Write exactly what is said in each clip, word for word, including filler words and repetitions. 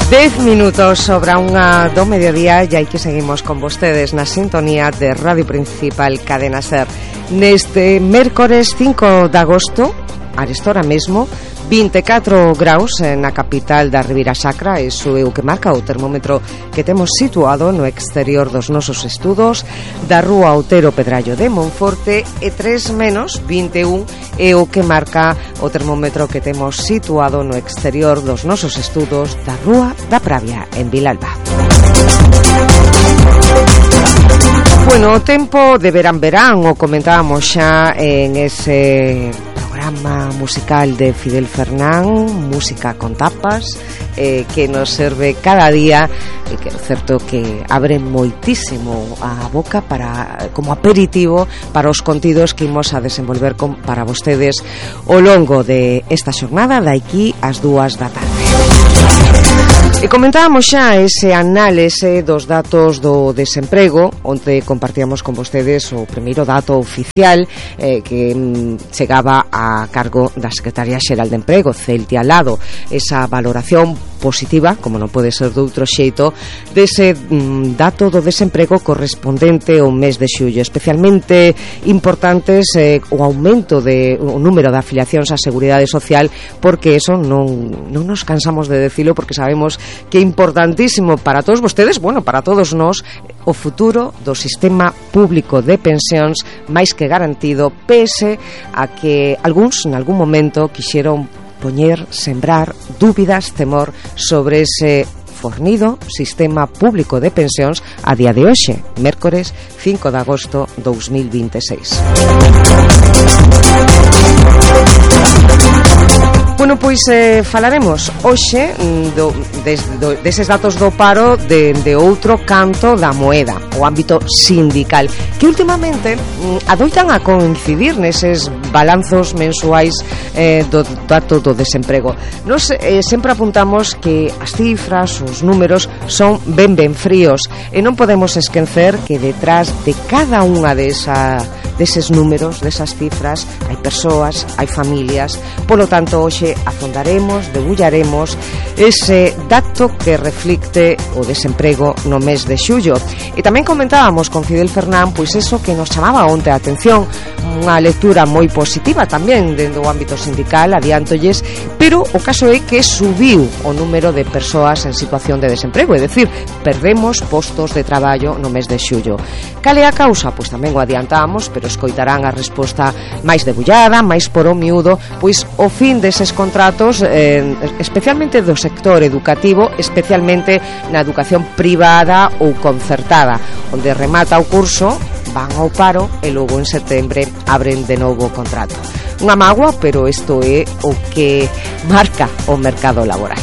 Dez minutos sobre unha do mediodía e aí que seguimos con vostedes na sintonía de Radio Principal Cadena Ser. Neste mércores cinco de agosto, arestora mesmo, vinte e catro graus na capital da Ribeira Sacra. Iso é o que marca o termómetro que temos situado no exterior dos nosos estudos da Rúa Otero Pedrallo de Monforte, e tres menos vinte e un é o que marca o termómetro que temos situado no exterior dos nosos estudos da Rúa da Pravia en Vilalba. Bueno, o tempo de verán-verán o comentábamos xa en ese programa musical de Fidel Fernán, Música con Tapas, eh, que nos serve cada día, e que é certo que abre moitísimo a boca para como aperitivo para os contidos que imos a desenvolver con, para vostedes ao longo de esta xornada de aquí ás dúas da tarde. E comentábamos xa ese análise dos datos do desemprego, onde compartíamos con vostedes o primeiro dato oficial eh, que mm, chegaba a cargo da Secretaría Xeral de Emprego, Celtia Lado, esa valoración positiva, como non pode ser de outro xeito, dese mm, dato do desemprego correspondente ao mes de xullo. Especialmente importantes eh, o aumento de o número de afiliacións á Seguridade Social, porque eso non, non nos cansamos de decilo, porque sabemos que é importantísimo para todos vostedes, bueno, para todos nós, o futuro do sistema público de pensións máis que garantido, pese a que algúns, en algún momento, quixeron poñer, sembrar dúbidas, temor sobre ese fornido sistema público de pensións a día de hoxe, mércores cinco de agosto dous mil vinte e seis. Bueno, pois eh, falaremos hoxe do, des, do, deses datos do paro de, de outro canto da moeda, o ámbito sindical, que últimamente mm, adoitan a coincidir neses balanzos mensuais eh, do dato do desemprego. Nos eh, sempre apuntamos que as cifras, os números son ben ben fríos, e non podemos esquecer que detrás de cada unha desa, deses números, desas cifras, hai persoas, hai familias. Polo tanto, hoxe afondaremos, debullaremos ese dato que reflicte o desemprego no mes de xullo. E tamén comentábamos con Fidel Fernán, pois eso que nos chamaba onte a atención, unha lectura moi positiva tamén dentro do ámbito sindical, adiantolles, pero o caso é que subiu o número de persoas en situación de desemprego, é dicir, perdemos postos de traballo no mes de xullo. Cal é a causa? Pois tamén o adiantamos, pero escoitarán a resposta máis debullada, máis por o miúdo, pois o fin deses contratos, eh, especialmente do sector educativo, especialmente na educación privada ou concertada, onde remata o curso, van ao paro e logo en setembro abren de novo o contrato. Unha mágoa, pero isto é o que marca o mercado laboral.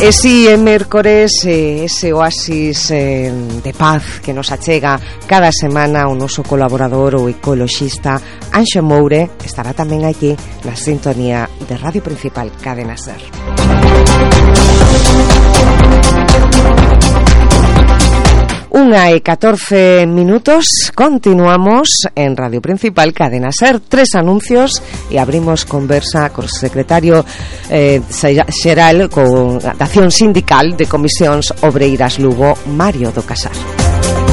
E si é mércores, eh, ese oasis eh, de paz que nos achega cada semana o noso colaborador, o ecoloxista Anxo Moure, estará tamén aquí na sintonía de Radio Principal Cadena Ser. Unha e catorce minutos, continuamos en Radio Principal Cadena Ser. Tres anuncios e abrimos conversa co secretario eh, xeral con da Acción Sindical de Comisións Obreiras Lugo, Mario do Casar.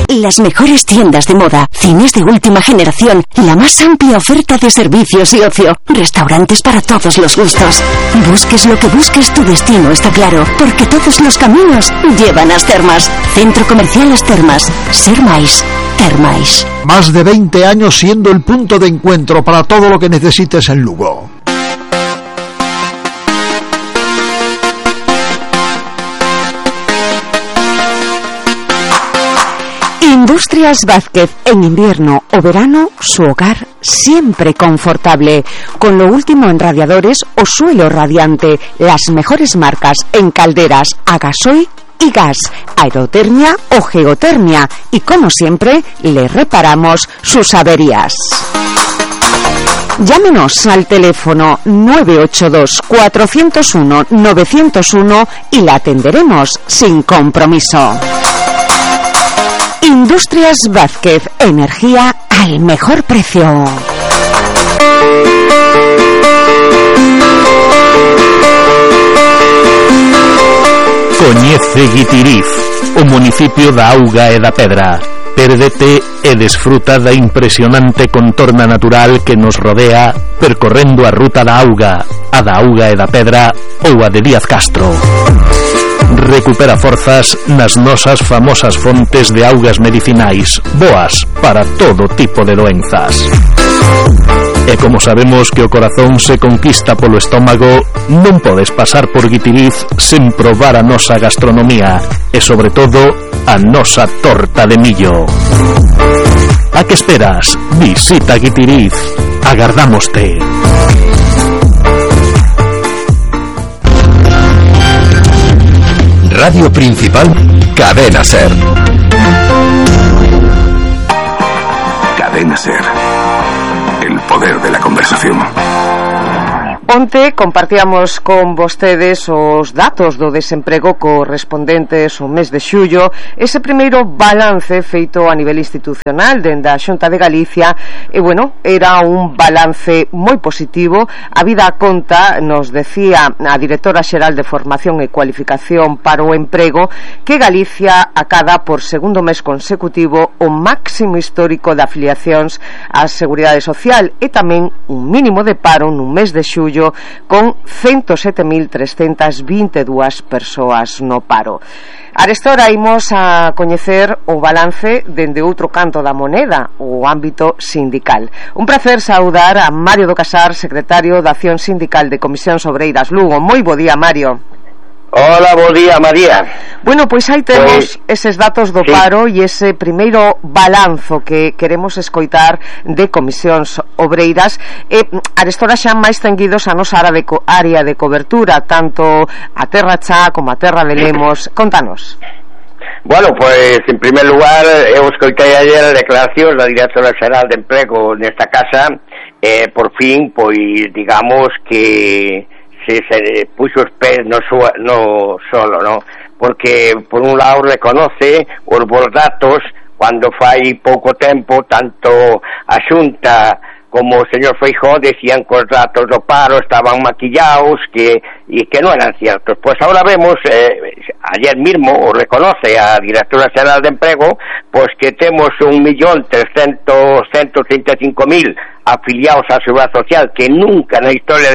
Las mejores tiendas de moda, cines de última generación, la más amplia oferta de servicios y ocio, restaurantes para todos los gustos. Busques lo que busques, tu destino está claro, porque todos los caminos llevan a As Termas. Centro Comercial As Termas. Ser máis, ter máis. Más de veinte años siendo el punto de encuentro para todo lo que necesites en Lugo. Industrias Vázquez, en invierno o verano, su hogar siempre confortable. Con lo último en radiadores o suelo radiante, las mejores marcas en calderas a gasoil y gas, aerotermia o geotermia. Y como siempre, le reparamos sus averías. Llámenos al teléfono nueve ocho dos, cuatro cero uno, nueve cero uno y la atenderemos sin compromiso. Industrias Vázquez, energía al mejor precio. Guitiriz, o municipio da Auga e da Pedra. Pérdete e desfruta da impresionante contorna natural que nos rodea percorrendo a ruta da Auga, a da Auga e da Pedra ou a de Díaz Castro. Recupera forzas nas nosas famosas fontes de augas medicinais, boas para todo tipo de doenzas. E como sabemos que o corazón se conquista polo estómago, non podes pasar por Guitiriz sen probar a nosa gastronomía e, sobre todo, a nosa torta de millo. A que esperas? Visita Guitiriz. Agardámoste. Radio Principal, Cadena Ser. Cadena Ser. El poder de la conversación. Onte compartíamos con vostedes os datos do desemprego correspondentes ao mes de xullo, ese primeiro balance feito a nivel institucional dende a Xunta de Galicia, e bueno, era un balance moi positivo. A vida a conta, nos decía a directora xeral de Formación e Cualificación para o Emprego, que Galicia acada por segundo mes consecutivo o máximo histórico de afiliacións á Seguridade Social e tamén un mínimo de paro nun mes de xullo con ciento sete mil trescentas vinte e dúas persoas no paro. Arestora imos a coñecer o balance dende outro canto da moneda, o ámbito sindical. Un placer saudar a Mario do Casar, secretario da Acción Sindical de Comisións Obreiras Lugo. Moi bo día, Mario. Hola, bo día, María. Bueno, pois aí temos pues, eses datos do sí. paro e ese primeiro balanzo que queremos escoitar de Comisións Obreiras. E arestora xa máis tenguidos a nosa área de, co- área de cobertura, tanto a Terra Chá como a Terra de Lemos. Contanos. Bueno, pues en primer lugar eu escoitei ayer a declaración da directora xeral de Emprego nesta casa, eh, por fin, pois digamos que se, se puxo os pés no, su, no solo, ¿no? Porque por un lado reconoce os bons datos cando fai pouco tempo tanto a Xunta como o señor Feijóo decían que os datos do paro estaban maquillados que, e que non eran ciertos. Pues ahora vemos, eh, ayer mismo o reconoce a directora xeral de Emprego, pues que temos un millón trescentos treinta e cinco mil afiliados á Seguridade Social, que nunca na historia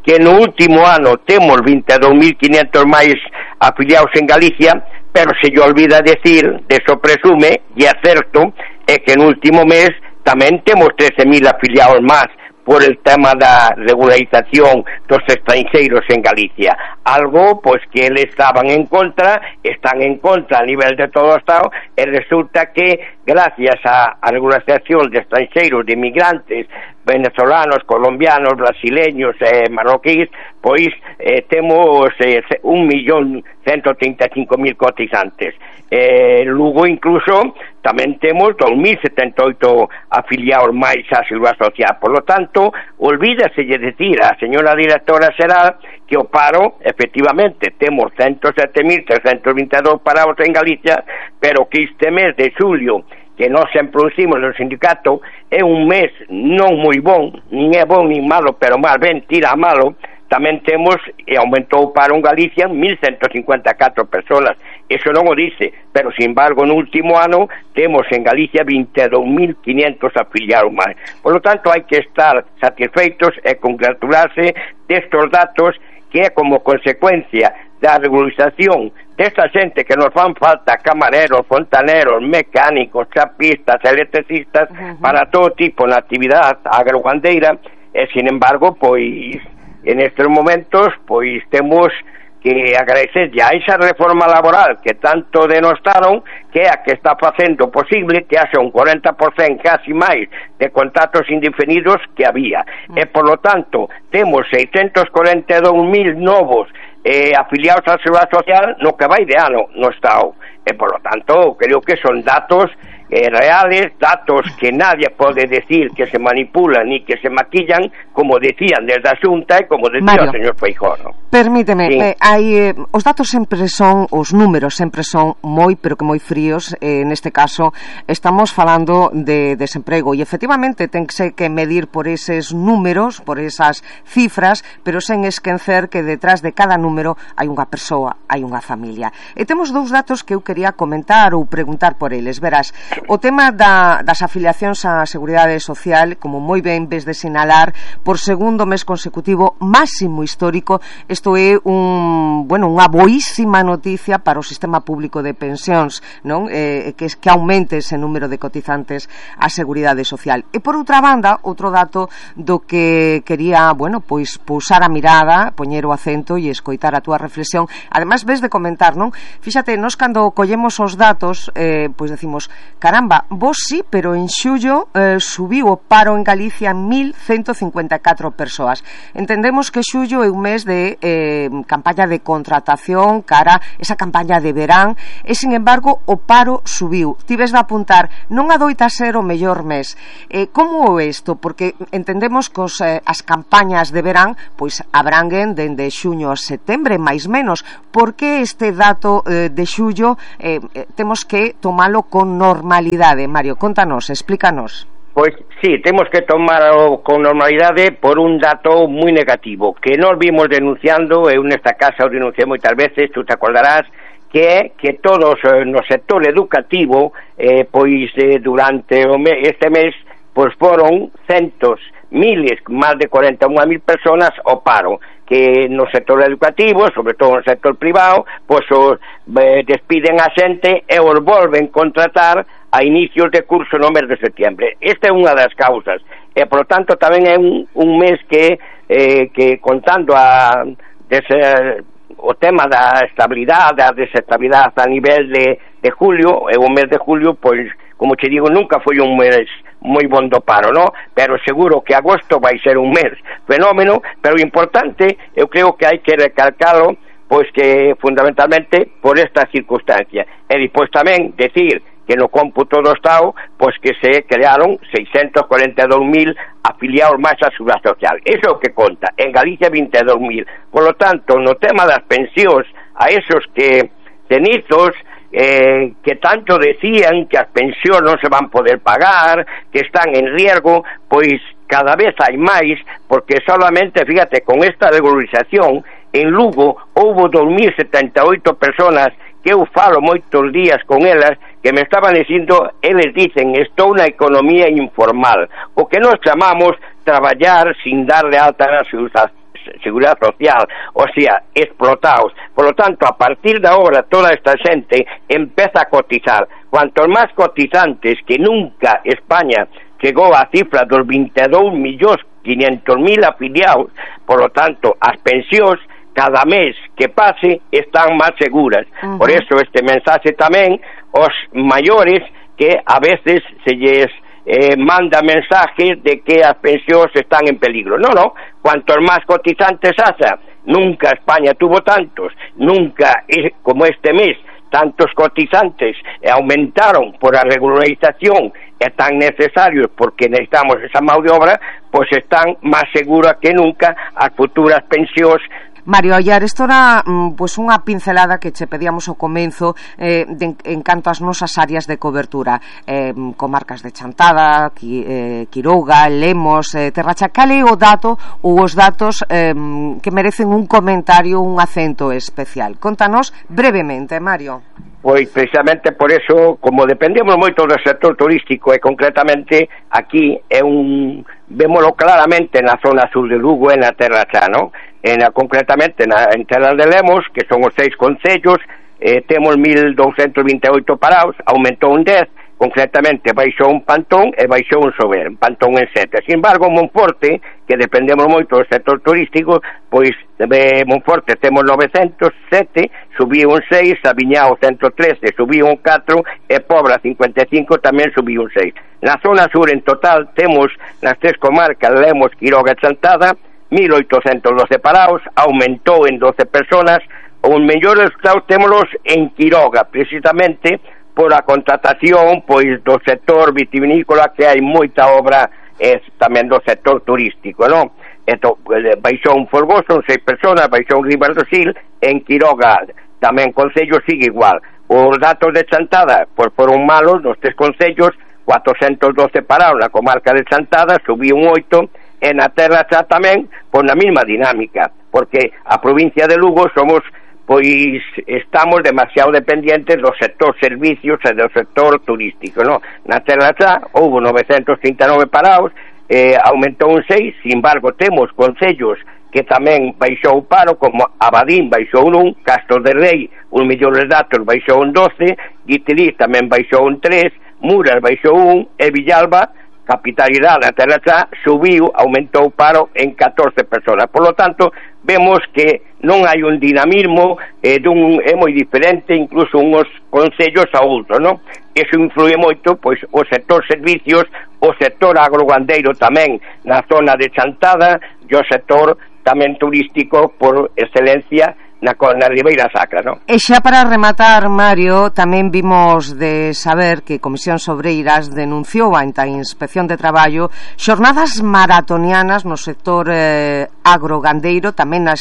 que no último ano temos vinte e dous mil quinhentos máis afiliados en Galicia, pero se lle olvida decir, deso presume, e é certo, é que no último mes tamén temos trece mil afiliados máis por el tema da regularización dos estranxeiros en Galicia. Algo, pois, que eles estaban en contra, están en contra a nivel de todo o Estado, e resulta que, gracias á regularización de estranxeiros, de inmigrantes, venezolanos, colombianos, brasileños e eh, marroquíes, pois eh, temos eh, un millón ciento treinta e cinco mil cotizantes. Eh, Lugo incluso tamén temos dos mil setenta e oito afiliados máis á Seguridade Social. Por lo tanto, olvídase de decir a señora directora xeral que o paro, efectivamente, temos ciento sete mil trescentos vinte e dous parados en Galicia, pero que este mes de xulio, que nós sempre producimos no sindicato, é un mes non moi bon, nin é bon nin malo, pero máis ben tira a malo. Tamén temos, e aumentou para un Galicia, mil ciento cincuenta e catro persoas. Eso non o dice, pero, sin embargo, no último ano temos en Galicia vinte e dous mil quinhentos afiliados máis. Por lo tanto, hai que estar satisfeitos e congratularse destos datos que é como consecuencia da regularización desta xente que nos fan falta, camareros, fontaneros, mecánicos, chapistas, electricistas, uh-huh. para todo tipo de actividade agrogandeira, e, sin embargo, pois en estes momentos, pois temos que agradecer a esa reforma laboral que tanto denostaron, que é a que está facendo posible que haxa un cuarenta por cento casi máis de contratos indefinidos que había. Mm. E, por lo tanto, temos seiscentos cuarenta e dous mil novos eh, afiliados á Seguridade Social no que vai de ano no Estado. E, por lo tanto, creo que son datos eh, reales, datos que nadie pode decir que se manipulan ni que se maquillan, como decían desde a Xunta e como decía Mario, o señor Feijóo, ¿no? Permíteme, sí. eh, hai, eh, os datos sempre son, os números sempre son moi, pero que moi fríos, eh, neste caso estamos falando de desemprego e efectivamente ten que medir por eses números, por esas cifras, pero sen esquecer que detrás de cada número hai unha persoa, hai unha familia. E temos dous datos que eu quería comentar ou preguntar por eles. Verás, o tema da, das afiliacións á Seguridade Social, como moi ben ves de sinalar, por segundo mes consecutivo máximo histórico. Isto é un, bueno, unha boísima noticia para o sistema público de pensións, non? Eh, que, que aumente ese número de cotizantes á Seguridade Social. E por outra banda, outro dato do que quería, bueno, pois pousar a mirada, poñer o acento e escoitar a túa reflexión. Ademais ves de comentar, non? Fíxate, nós cando collemos os datos, eh, pois decimos, caramba, vos sí, pero en xullo eh, subiu o paro en Galicia mil ciento cincuenta e catro persoas. Entendemos que xullo é un mes de eh, campaña de contratación cara esa campaña de verán e, sin embargo, o paro subiu. Tives de apuntar, non adoita ser o mellor mes. Eh, como é isto? Porque entendemos que os, eh, as campañas de verán pois abranguen dende xuño a setembro, máis menos. Por que este dato eh, de xullo eh, eh, temos que tomalo con normalidade? Mario, contanos, explícanos. Pois sí, temos que tomarlo con normalidade por un dato moi negativo que nós vimos denunciando, eu nesta casa o denunciei moitas veces, tú te acordarás, que é que todos eh, no sector educativo eh, pois eh, durante o me, este mes pois foron centos, miles, máis de cuarenta e unha mil personas ao paro, que no sector educativo, sobre todo no sector privado, pois os eh, despiden a xente e os volven contratar a inicios de curso no mes de setembro. Esta é unha das causas e, por tanto, tamén é un, un mes que, eh, que contando a dese, o tema da estabilidade, da desestabilidade a nivel de, de julio, é o mes de julio, pois, como te digo, nunca foi un mes moi bon do paro, ¿no? Pero seguro que agosto vai ser un mes fenómeno, pero importante, eu creo que hai que recalcalo, pois que fundamentalmente por esta circunstancia. E depois tamén decir que no cómputo do Estado, pois que se crearon seiscentos cuarenta e dous mil afiliados máis á Seguridade Social. Eso é o que conta. En Galicia vinte e dous mil. Por lo tanto, no tema das pensións, a esos que cenizos eh, que tanto decían que as pensións non se van poder pagar, que están en riesgo, pois cada vez hai máis, porque solamente, fíjate, con esta regularización, en Lugo houve dos mil setenta e oito personas que eu falo moitos días con elas, que me estaban dicindo, eles dicen, estou na economía informal, o que nós chamamos traballar sin darle alta na Seguridade Social, o sea, explotados. Por lo tanto, a partir de ahora, toda esta xente empeza a cotizar. Cuantos máis cotizantes, que nunca España chegou a cifra dos vinte e dous millóns quinhentos mil afiliados, por lo tanto, as pensións cada mes que pase están máis seguras. Uh-huh. Por eso este mensaxe tamén os maiores que a veces se lles eh, manda mensajes de que as pensións están en peligro. No, no, cuantos máis cotizantes haxa, nunca España tuvo tantos, nunca como este mes tantos cotizantes e aumentaron por a regularización e tan necesarios porque necesitamos esa mão de obra, pois están máis seguras que nunca as futuras pensións. Mario Ollar, isto era pues, unha pincelada que che pedíamos ao comenzo eh, de, en canto ás nosas áreas de cobertura, eh, comarcas de Chantada, Qui, eh, Quiroga, Lemos, eh, Terracha. Cal é o dato ou os datos eh, que merecen un comentario, un acento especial? Contanos brevemente, Mario. Pois precisamente por eso, como dependemos moito do sector turístico e concretamente aquí é un, vémolo claramente na zona sur de Lugo e na Terracha, non? En, concretamente na, en Terra de Lemos, que son os seis concellos, eh, temos mil douscentos vinte e oito parados, aumentou un dez, concretamente baixou un Pantón e baixou un Sober, Pantón en sete. Sin embargo, Monforte, que dependemos moito do sector turístico, pois de Monforte temos novecentos sete, subiu un seis, Sabiñao ciento trece, subiu un catro e Pobra cincuenta e cinco tamén subiu un seis. Na zona sur en total temos nas tres comarcas, Lemos, Quiroga e Chantada, mil oitocentos doce parados, aumentou en doce personas. Os mellores resultados témolos en Quiroga, precisamente por a contratación pois do sector vitivinícola, que hai moita obra eh, tamén do sector turístico, non? Eto, baixou un Folgoso, son seis personas, baixou un Ribardosil, en Quiroga tamén concello sigue igual. Os datos de Chantada pois foron malos nos tres concellos, cuatrocentos doce parados na comarca de Chantada, subiu un oito, e na Terra Xa tamén, pois na mesma dinámica, porque a provincia de Lugo somos, pois estamos demasiado dependientes do sector servicios e do sector turístico, non? Na Terra Xa houve novecentos trinta e nove parados, eh, aumentou un seis, sin embargo temos concellos que tamén baixou o paro, como Abadín baixou un un, Castro de Rei, un millón de datos baixou un doce, Guitiriz tamén baixou un tres, Muras baixou un, e Villalba, capitalidade na Terra Xa, subiu, aumentou o paro en catorce personas. Por lo tanto, vemos que non hai un dinamismo, eh, dun, é moi diferente incluso unhos concellos a outros, non? Eso influye moito, pois, o sector servicios, o sector agrogandeiro tamén na zona de Chantada, e o sector tamén turístico por excelencia na, na Ribeira Sacra, non? E xa para rematar, Mario, tamén vimos de saber que Comisións Obreiras denunciou ante a Inspección de Traballo xornadas maratonianas no sector eh, agrogandeiro, tamén na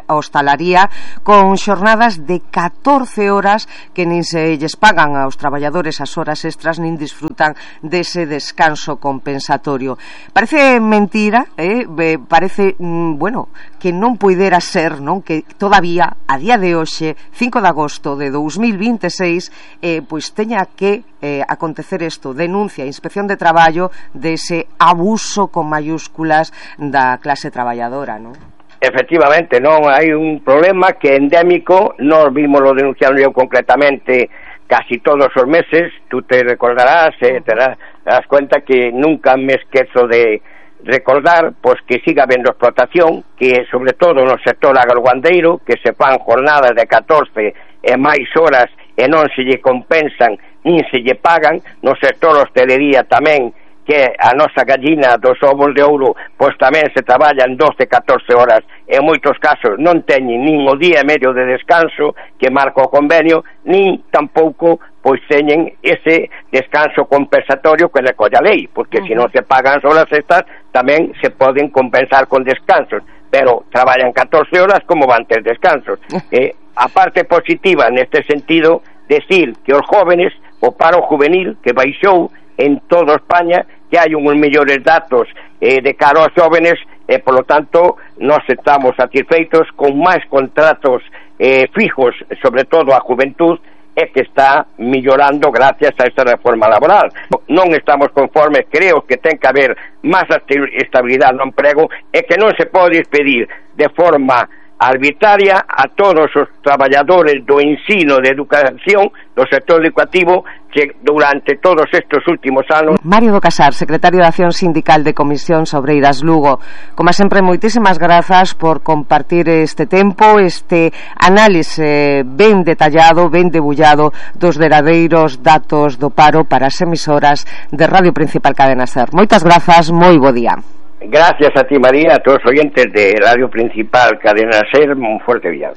hostalaría, con xornadas de catorce horas que nin se lles pagan aos traballadores as horas extras nin disfrutan dese descanso compensatorio. Parece mentira, eh? parece, mm, bueno, que non poidera ser, non? Que todavía a día de hoxe, cinco de agosto de dos mil veintiséis, eh, pois teña que eh, acontecer isto, denuncia a Inspección de Traballo dese abuso con mayúsculas da clase traballadora, non? Efectivamente, non hai un problema que é endémico, nós vimos lo denunciando eu concretamente casi todos os meses, tú te recordarás, eh, te das cuenta que nunca me esquezo de recordar, pois que siga habendo explotación, que sobre todo no sector agrogandeiro, que se fan jornadas de catorce e máis horas e non se lle compensan nin se lle pagan, no sector hostelería tamén, que a nosa gallina dos ovos de ouro, pois tamén se traballan doce, catorce horas, e en moitos casos non teñen nin o día e medio de descanso que marca o convenio, nin tampouco pois teñen ese descanso compensatorio que recolle a lei, porque uh-huh. se non se pagan as horas estas, tamén se poden compensar con descansos, pero traballan catorce horas, como van ter descansos. Eh, a parte positiva neste sentido, decir que os jóvenes, o paro juvenil que baixou en toda España, que hai uns mellores datos eh, de cara aos jóvenes, e, por lo tanto, nós estamos satisfeitos con máis contratos eh, fijos, sobre todo a juventud, e que está millorando gracias a esta reforma laboral. Non estamos conformes, creo que ten que haber máis estabilidade no emprego e que non se pode despedir de forma arbitraria a todos os traballadores do ensino de educación do sector educativo que durante todos estes últimos anos. Mario do Casar, secretario de Acción Sindical de Comisións Obreiras Lugo, como sempre, moitísimas grazas por compartir este tempo, este análise ben detallado, ben debullado dos derradeiros datos do paro para as emisoras de Radio Principal Cadena Ser. Moitas grazas, moi bo día. Gracias a ti, María, a todos os oyentes de Radio Principal Cadena Ser, un fuerte viaje.